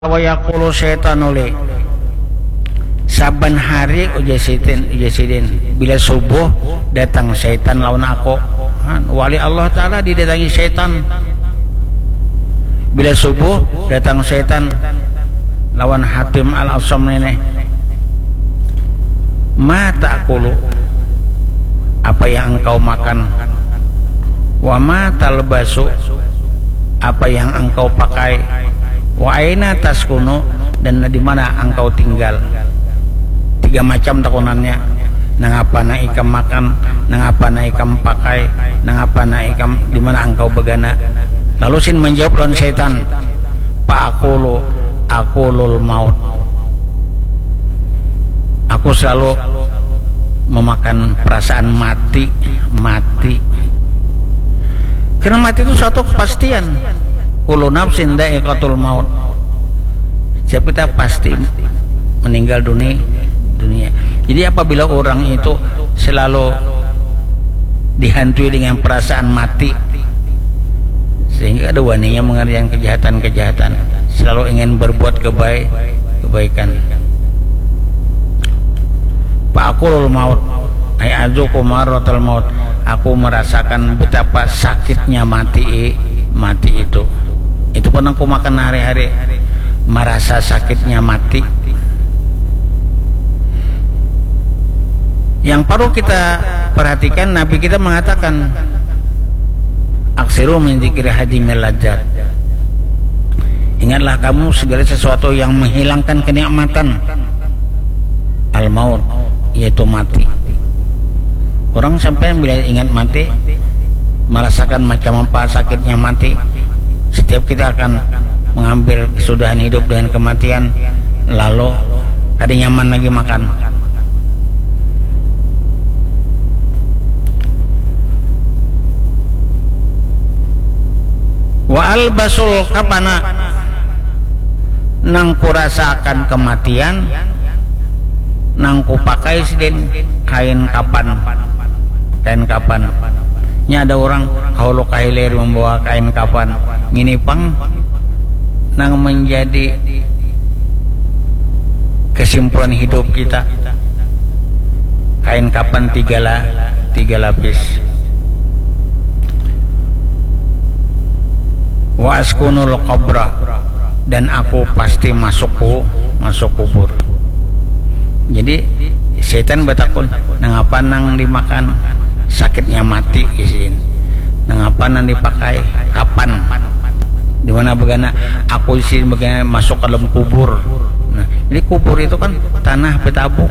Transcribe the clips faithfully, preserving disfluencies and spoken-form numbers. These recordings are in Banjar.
Wa yaqulu syaitan uli. Saban hari, ujar sidin, ujar sidin, bila subuh datang syaitan lawan aku. Han, wali Allah Ta'ala didatangi syaitan. Bila subuh datang syaitan lawan Hatim Al-Asam ini. Ma ta'kulu, apa yang engkau makan? Wa ma talbasu, apa yang engkau pakai? Wa aina taskunu, dan di mana engkau tinggal? Tiga macam takunannya. Nangapa nang ikam makan, nangapa nang ikam pakai, nangapa nang ikam, di mana engkau bagana? Lalu sin menjawab lawan syaitan, fa aqulu, aqulul maut. Aku selalu memakan perasaan mati, mati. Karena mati itu suatu kepastian. Kullu nafsin dha'iqatul maut. Setiap kita pasti meninggal dunia, dunia. Jadi apabila orang itu selalu dihantui dengan perasaan mati, sehingga ada waninya mengerjakan kejahatan-kejahatan, selalu ingin berbuat kebaik, kebaikan. Fa aqulul maut, ay azuku marratal maut. Aku merasakan betapa sakitnya mati, mati itu. Itu pun aku makan hari-hari, merasa sakitnya mati. Yang perlu kita perhatikan, Nabi kita mengatakan, aksiru min dzikri hadimil ladzat. Ingatlah kamu segala sesuatu yang menghilangkan kenikmatan. Al-maut, yaitu mati. Orang sampai bila ingat mati, merasakan macam apa sakitnya mati. Setiap kita akan mengambil kesudahan hidup dengan kematian, lalu kada nyaman lagi makan. Wa albasul kafana, nang kurasakan kematian, nang kupakai sidin kain kapan, kain kapan. Nya ada orang kahulu kahilir membawa kain kapan. Ngini pang nang menjadi kesimpulan hidup kita. Kain kapan tiga la-, tiga lapis. Wa askunul qabra, dan aku pasti masuk ku-, masuk kubur. Jadi setan batakun, nangapa nang dimakan? Sakitnya mati isin. Nangapa nang dipakai? Kapan? Di mana begana? Aku isin begana masuk ke dalam kubur. Nah, jadi kubur itu kan tanah betabuk.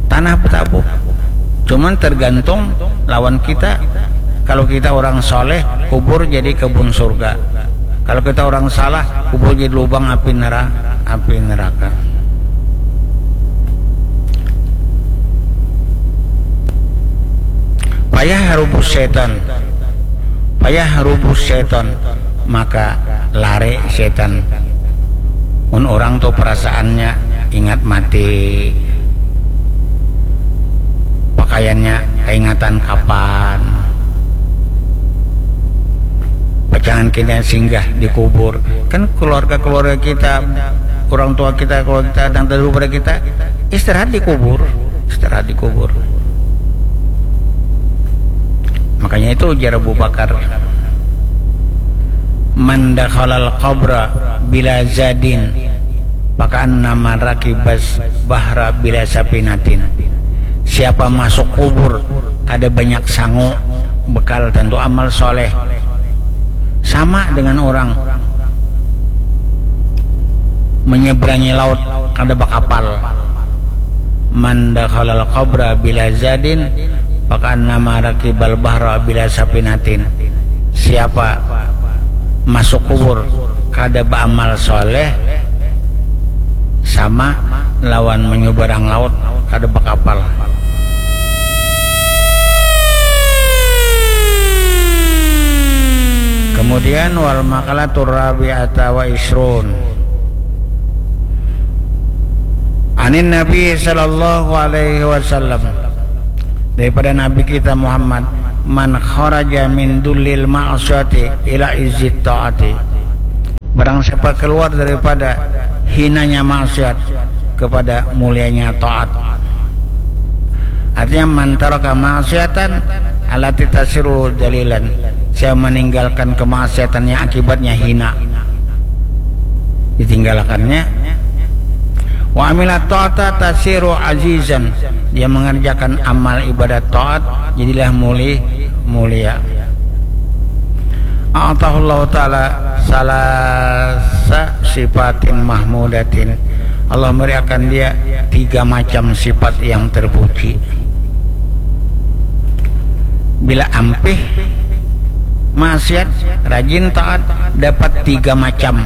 Tanah betabuk. Cuman tergantung lawan kita. Kalau kita orang soleh, kubur jadi kebun surga. Kalau kita orang salah, kubur jadi lubang api nera-, api neraka. Payah rubus setan. Payah rubus setan. Maka lari setan. Mun orang tu perasaannya ingat mati, pakaiannya kaingatan kapan, pacangan kita singgah di kubur. Kan keluarga-keluarga kita, orang tua kita, keluarga kita, dan dahulu pada kita istirahat di kubur, istirahat di kubur. Makanya itu ujar Abu Bakar, "Man dakhalal qabra bila zadin, fakaannama rakibas bahra bila sapinatin." Siapa masuk kubur kada banyak sangu, bekal tentu amal soleh, sama dengan orang menyeberangi laut kada bakapal. "Man dakhalal qabra bila zadin, fakaannama rakibal bahra bila sapinatin." Siapa masuk kubur kada beramal soleh, sama lawan menyeberang laut kada bakapal. Kemudian, wal maqalatur rabi'ata wa isrun. Anin Nabi sallallahu alaihi wasallam, daripada Nabi kita Muhammad, "Man kharaja min dullil ma'asyati ila izzit ta'ati." Siapa keluar daripada hinanya maksiat kepada mulianya taat. Artinya, man taraka maksiatan allati tasiru dalilan, saya meninggalkan kemaksiatan yang akibatnya hina, ditinggalkannya. Wa amila ta'ata tasiru azizan, dia mengerjakan amal ibadat taat, jadilah muli mulia. A'tahullahu ta'ala salasa sifatin mahmudatin, Allah memberikan dia tiga macam sifat yang terpuji. Bila ampih maksiat, rajin taat, dapat tiga macam.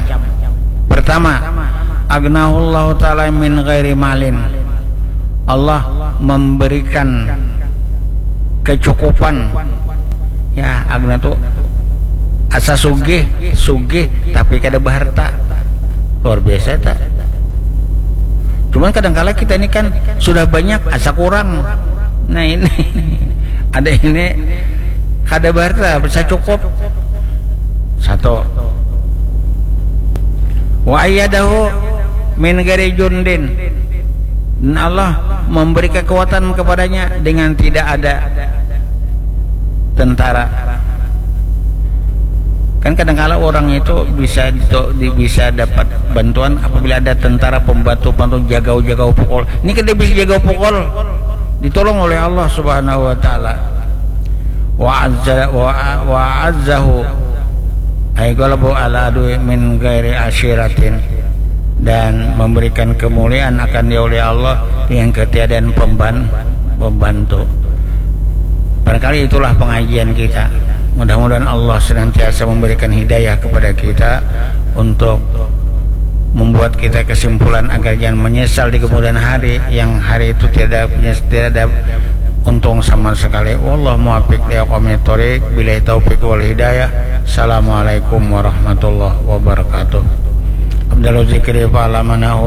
Pertama, agnahullahu ta'ala min ghairi malin, Allah memberikan kecukupan. Ya, agna tu asa sugih, sugih tapi kada baharta. Luar biasa tak? Cuman kadangkala kita ini kan sudah banyak asa kurang. Nah, ini ada ini kada baharta, bisa cukup. Satu. Wa ayyadahu min ghairi jundin, dan Allah memberi kekuatan kepadanya dengan tidak ada tentara. Kan kadangkala orang itu bisa di, bisa dapat bantuan apabila ada tentara pembantu, pembantu jagau-jagau pukul. Ini kan dia bisa jagau pukul, ditolong oleh Allah Subhanahu wa taala. Wa azza wa, wa azzahu ay ghalabahu ala adui min ghairi asyiratin, dan memberikan kemuliaan akan dia oleh Allah dengan ketiadaan pemban, pembantu. Barangkali itulah pengajian kita. Mudah-mudahan Allah senantiasa memberikan hidayah kepada kita untuk membuat kita kesimpulan agar jangan menyesal di kemudian hari, yang hari itu tiada, tiada untung sama sekali. Wallahu muwaffiq li aqwamit thoriq, billahi taufiq wal hidayah. Assalamualaikum warahmatullahi wabarakatuh. Afdalu zikri fa'lamanahu